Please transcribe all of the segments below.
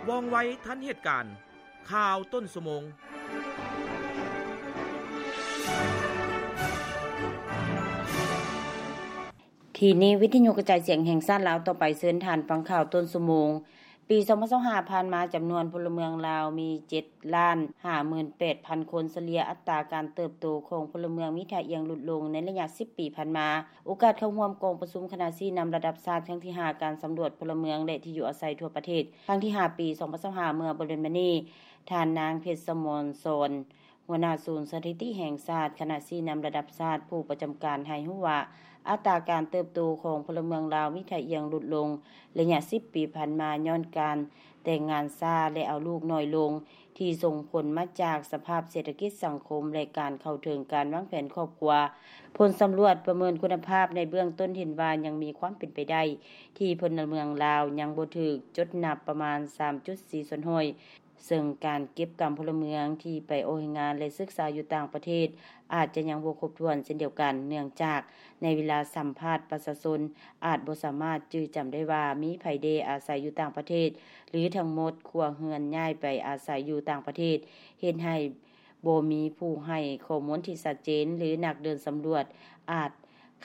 ວ່ອງໄວທັນເຫດການ. ຂ່າວຕົ້ນຊົ່ວໂມງ. ທີ່ນີ້ ວິທະຍຸກະຈາຍສຽງແຫ່ງຊາດລາວ ຕໍ່ໄປເຊີນທ່ານຟັງຂ່າວຕົ້ນຊົ່ວໂມງ. ປີສອງພັນຊາວຫ້າຜ່ານມາ, ຈຳນວນພົນລະເມືອງລາວມີເຈັດລ້ານຫ້າໝື່ນແປດພັນຄົນ, ສະເລ່ຍອັດຕາການເຕີບໂຕຂອງພົນລະເມືອງມີທ່າອ່ຽງຫຼຸດລົງໃນໄລຍະສິບປີຜ່ານມາ. ໂອກາດເຂົ້າຮ່ວມກອງປະຊຸມຄະນະຊີ້ນຳລະດັບຊາດຄັ້ງທີຫ້າ ການສຳຫຼວດພົນລະເມືອງ ແລະ ທີ່ຢູ່ອາໄສທົ່ວປະເທດ ຄັ້ງທີຫ້າ ປີສອງພັນຊາວຫ້າ ເມື່ອບໍ່ດົນມານີ້, ທ່ານນາງ ເພັດສະໝອນສອນ ຫົວໜ້າສູນສະຖິຕິແຫ່ງຊາດ, ຄະນະຊີ້ນຳລະດັບຊາດ ຜູ້ປະຈຳການໃຫ້ຮູ້ວ່າ ອັດຕາການເຕີບໂຕຂອງພົນລະເມືອງລາວມີທ່າອ່ຽງຫຼຸດລົງໄລຍະສິບປີຜ່ານມາ ຍ້ອນການແຕ່ງງານຊ້າ ແລະ ເອົາລູກໜ້ອຍລົງ, ທີ່ສົ່ງຜົນມາຈາກສະພາບເສດຖະກິດສັງຄົມ ແລະ ການເຂົ້າເຖິງການວາງແຜນຄອບຄົວ. ຜົນສຳຫຼວດປະເມີນຄຸນນະພາບໃນເບື້ອງຕົ້ນເຫັນວ່າ ຍັງມີຄວາມເປັນໄປໄດ້ທີ່ພົນລະເມືອງລາວຍັງບໍ່ຖືກຈົດນັບປະມານສາມຈຸດສີ່ສ່ວນຮ້ອຍ, ເຊິ່ງການເກັບກຳພົນລະເມືອງທີ່ໄປອອກແຮງງານ ແລະ ສຶກສາຢູ່ຕ່າງປະເທດ ອາດຈະຍັງບໍ່ຄົບຖ້ວນເຊັ່ນດຽວກັນ, ເນື່ອງຈາກໃນເວລາສຳພາດປະຊາຊົນ ອາດບໍ່ສາມາດຈື່ຈຳໄດ້ວ່າ ມີໃຜແດ່ອາໄສຢູ່ຕ່າງປະເທດ ຫຼື ທັງໝົດຄົວເຮືອນຍ້າຍໄປອາໄສຢູ່ຕ່າງປະເທດ, ເຮັດໃຫ້ບໍ່ມີຜູ້ໃຫ້ຂໍ້ມູນທີ່ຊັດເຈນ ຫຼື ນັກເດີນສຳຫຼວດອາດ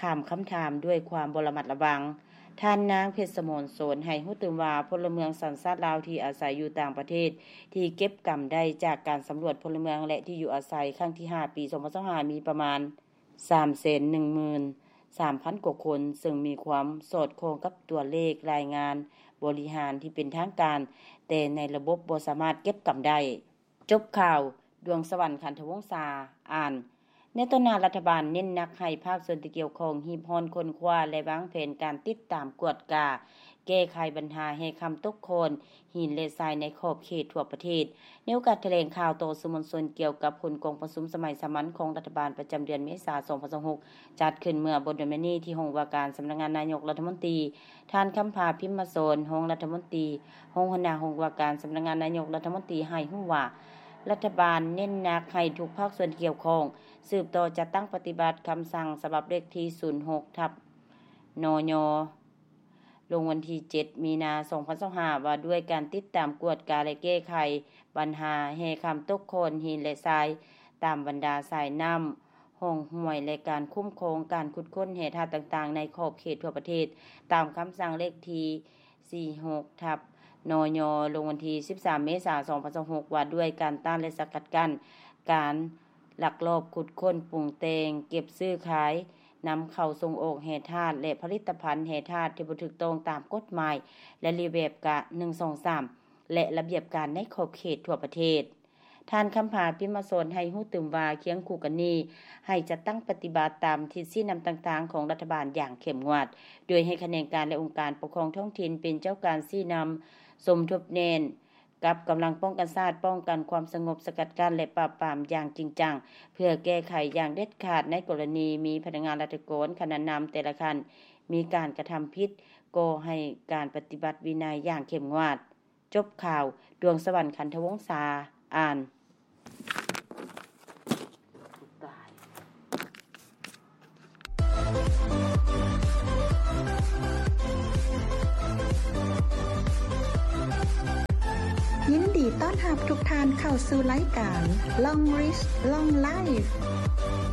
ຂ້າມຄຳຖາມດ້ວຍຄວາມບໍ່ລະມັດລະວັງ. ທ່ານນາງ ເພັດສະໝອນສອນ ໃຫ້ຮູ້ຕື່ມວ່າ ພົນລະເມືອງສັນຊາດລາວທີ່ອາໄສຢູ່ຕ່າງປະເທດ ທີ່ເກັບກຳໄດ້ຈາກການສຳຫຼວດພົນລະເມືອງ ແລະ ທີ່ຢູ່ອາໄສຄັ້ງທີຫ້າ ປີສອງພັນຊາວຫ້າ ມີປະມານສາມແສນໜຶ່ງໝື່ນສາມພັນກວ່າຄົນ, ເຊິ່ງມີຄວາມສອດຄ່ອງກັບຕົວເລກລາຍງານບໍລິຫານທີ່ເປັນທາງການ, ແຕ່ໃນລະບົບບໍ່ສາມາດເກັບກຳໄດ້. ຈົບຂ່າວ, ດວງສະຫວັນ ຂັນທະວົງສາ ອ່ານ. ໃນຕໍ່ໜ້າ, ລັດຖະບານເນັ້ນໜັກໃຫ້ພາກສ່ວນທີ່ກ່ຽວຂ້ອງຮີບຮ້ອນຄົ້ນຄວ້າ ແລະ ວາງແຜນການຕິດຕາມ, ກວດກາ, ແກ້ໄຂບັນຫາແຮ່ຄຳຕົກຂ້ອນ, ຫີນ ແລະ ຊາຍໃນຂອບເຂດທົ່ວປະເທດ. ໃນໂອກາດຖະແຫຼງຂ່າວຕໍ່ສື່ມວນຊົນກ່ຽວກັບຜົນກອງປະຊຸມສະໄໝສາມັນຂອງລັດຖະບານປະຈຳເດືອນເມສາ ສອງພັນຊາວຫົກ ຈັດຂຶ້ນເມື່ອບໍ່ດົນມານີ້ທີ່ຫ້ອງວ່າການສຳນັກງານນາຍົກລັດຖະມົນຕີ, ທ່ານ ຄຳພາ ພິມມະສອນ ຮອງລັດຖະມົນຕີ, ຮອງຫົວໜ້າຫ້ອງວ່າການສຳນັກງານນາຍົກລັດຖະມົນຕີ ໃຫ້ຮູ້ວ່າ ລັດຖະບານເນັ້ນໜັກໃຫ້ທຸກພາກສ່ວນທີ່ກ່ຽວຂ້ອງ ສືບຕໍ່ຈັດຕັ້ງປະຕິບັດຄຳສັ່ງສະບັບເລກທີ ສູນຫົກ ທັບ ນຍ ລົງວັນທີ ເຈັດ ມີນາ ສອງພັນຊາວຫ້າ ວ່າດ້ວຍການຕິດຕາມ, ກວດກາ ແລະ ແກ້ໄຂບັນຫາແຮ່ຄຳຕົກຂ້ອນ, ຫີນ ແລະ ຊາຍ ຕາມບັນດາສາຍນ້ຳ, ຮ່ອງຫ້ວຍ ແລະ ການຄຸ້ມຄອງການຂຸດຄົ້ນແຮ່ທາດຕ່າງໆ ໃນຂອບເຂດທົ່ວປະເທດ, ຕາມຄຳສັ່ງເລກທີ ສີ່ຫົກ ທັບ ນຍ ລົງວັນທີ ສິບສາມ ເມສາ ສອງພັນຊາວຫົກ ວ່າດ້ວຍການຕ້ານ ແລະ ສະກັດກັ້ນການລັກລອບຂຸດຄົ້ນ, ປຸງແຕ່ງ, ເກັບ, ຊື້, ຂາຍ, ນຳເຂົ້າ, ສົ່ງອອກແຮ່ທາດ ແລະ ຜະລິດຕະພັນແຮ່ທາດທີ່ບໍ່ຖືກຕ້ອງຕາມກົດໝາຍ ແລະ ລະບຽບການ ໜຶ່ງ ສອງ ສາມ ແລະ ລະບຽບການໃນຂອບເຂດທົ່ວປະເທດ. ທ່ານ ຄຳພາ ພິມມະສອນ ໃຫ້ຮູ້ຕື່ມວ່າ ຄຽງຄູ່ກັນນີ້ ໃຫ້ຈັດຕັ້ງປະຕິບັດຕາມທິດຊີ້ນຳຕ່າງໆຂອງລັດຖະບານຢ່າງເຂັ້ມງວດ, ໂດຍໃຫ້ຂະແໜງການ ແລະ ອົງການປົກຄອງທ້ອງຖິ່ນເປັນເຈົ້າການຊີ້ນຳ, ສົມທົບແໜ້ນກັບກຳລັງປ້ອງກັນຊາດ, ປ້ອງກັນຄວາມສະຫງົບ, ສະກັດກັ້ນ ແລະ ປາບປາມຢ່າງຈິງຈັງ, ເພື່ອແກ້ໄຂຢ່າງເດັດຂາດໃນກໍລະນີມີພະນັກງານລັດຖະກອນຂັ້ນນຳແຕ່ລະຂັ້ນມີການກະທຳຜິດ, ກໍໃຫ້ການປະຕິບັດວິໄນຢ່າງເຂັ້ມງວດ. ຈົບຂ່າວ, ດວງສະຫວັນ ຂັນທະວົງສາ ອ່ານ. ຍິນດີຕ້ອນຮັບທຸກທ່ານເຂົ້າສູ່ລາຍການ Long Rich Long Life